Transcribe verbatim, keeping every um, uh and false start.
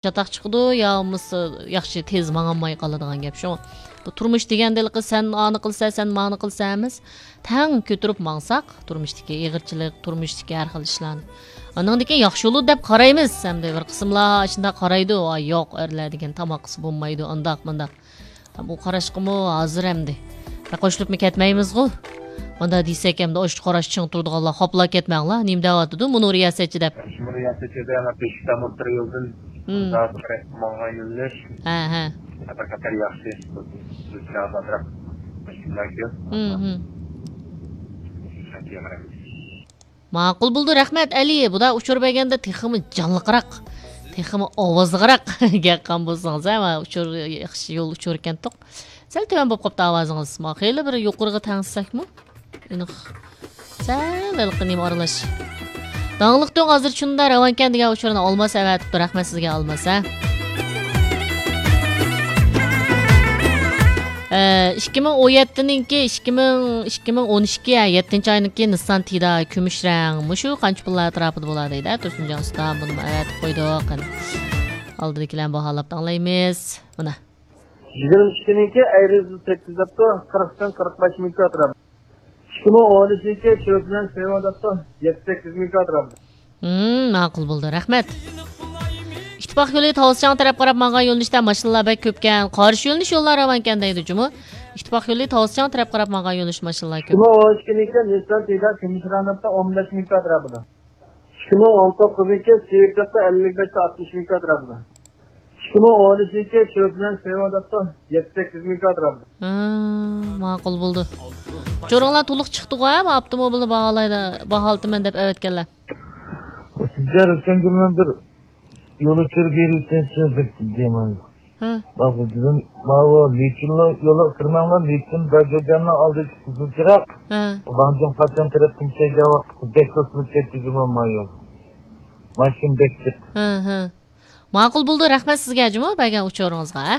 چاتاق چىقىدۇ، يا بولمىسا ياخشى تېز ماڭالماي قالىدىغان گەپ شۇ. بۇ تۇرمۇش دېگەندە ھېلىقى سەن ئانى قىلسا، سەن مانى قىلسا ئەمەس. تەڭ كۆتۈرۈپ ماڭساق، تۇرمۇشتىكى ئېغىرچىلىق، تۇرمۇشتىكى ھەر خىل ئىشلارنى. ئانىڭدىن كېيىن ياخشى بولىدۇ دەپ قارايمىز. ئەمدى بىر قىسىملار شۇنداق قارايدۇ، «ۋاي ياق، ئەرلەر دېگەن تاماققىسى بولمايدۇ، ئانداق، مۇنداق.» بۇ قاراشقىمۇ ھازىر ئەمدى بەك قوشۇلۇپمۇ كەتمەيمىزغۇ؟ مۇنداق دېسەك ئەمدى ئاشۇ قاراش چىڭ تۇرىدىغانلار خاپىلاپ كەتمەڭلار، نېمە دەۋاتىدۇ مۇنۇ رىياسەتچى دەپ. شۇ رىياسەتچىدە بېشىكتە مۇتتۇر يولدىن مۇنداق ماڭغان يۆنىلىش ھە، ھە. بىر قەدەر ياخشى. بىز بىلەن ئازراق مۇشكىللار كۆپ. ھىم، ھىم. ماقۇل بولدى، رەھمەت، ئەلى. بۇدا ئۇچۇر بەرگەندە تېخىمۇ جانلىقراق، تېخىمۇ ئاۋازلىقراق گەپ قىلغان بولسىڭىز، ھە، ئۇچۇر ياخشى يول ئۇچۇر ئىكەنتۇق. سەل تۆۋەن بولۇپ قاپتۇ ئاۋازىڭىز. ما خېلى بىر يۇقىرىغا تەڭشىسەكمۇ؟ ئېنىق. سەل ھېلىقى نېمە ئارىلاش. داڭلىق دۆڭ ھازىر چۇندا راۋانكەن دېگەن ئۇچۇرنى ئالماس ئەۋەتىپتۇ. رەھمەت سىزگە ئالماس، ھە. ئە، ئىككى مىڭ ئون يەتتىنىڭكى، ئىككى مىڭ، ئىككى مىڭ ئون ئىككى، ھە، يەتتىنچى ئاينىڭكى نىسسان تىدا كۈمۈش رەڭ. مۇشۇ قانچە پۇللار ئەتراپىدا بولار دەيدۇ، ھە، تۇرسۇنجان ئۇستا. بۇنىمۇ ئەۋەتىپ قويدۇق. قېنى. ئالدىدىكىلەرنى باھالاپ ئاڭلايمىز. مانا. يىگىرمە ئىككىنىڭكى ئەيرىز سەككىز دەپتۇ، قىرىقتىن قىرىق بەش مىڭ كاترا. ئىككى مىڭ ئون ئۈچىنچى چۆپلەن سېۋا دەپتۇ، يەتتە سەككىز مىڭ كاترا. ھىم، ماقۇل بولدى، رەھمەت. ئىتتىپاق يولى تاۋۇزچاڭ تەرەپ قاراپ ماڭغان يۆنىلىشتە ماشىنىلار بەك كۆپكەن، قارشى يۆنىلىش يوللار راۋانكەن دەيدۇ جۇمۇ. ئىتتىپاق يولى تاۋۇزچاڭ تەرەپ قاراپ ماڭغان يۆنىلىش ماشىنىلار كۆپ. ئىككى مىڭ ئون ئىككىنىڭكى نىسسان تىدا كۈمۈش رەڭ دەپتۇ، ئون بەش مىڭ كاترا بۇدا. ئىككى مىڭ ئون توققۇزىنچى سېۋىپ دەپتۇ، ئەللىك بەشتە ئاتمىش مىڭ كاترا بۇدا. ئىككى مىڭ ئون ئۈچىنچى چۆپلەن سېۋا دەپتۇ، يەتتە سەككىز مىڭ كاترا بۇدا. ھا، ماقۇل بولدى. ئۇچۇرۇڭلار تولۇق چىقتىغۇ، ھە، ئاپتوموبىلنى باھالايدۇ، باھالىتىمەن دەپ ئەۋەتكەنلەر. سىزگە رۇسەنگۈلنىڭ بىر يول ئۇچۇرى بېرىۋېتىڭ سىز دەپ دېمەن. ھە. باققىن دېدىم، ماۋۇ لىچىنلار يولىغا كىرمەڭلار، لىچىن داجۇجاننىڭ ئالدىدىكى قىزىل چىراغ. ھە. ۋاڭجىڭ پاتيان تەرەپتىن كەلگەن ۋاقىت بەك توسۇلۇپ كەتتى جۇمۇ ما يول. ماشىنا بەك جىق. ھە، ھە. ماقۇل بولدى، رەھمەت سىزگە جۇمۇ بەرگەن ئۇچۇرىڭىزغا، ھە.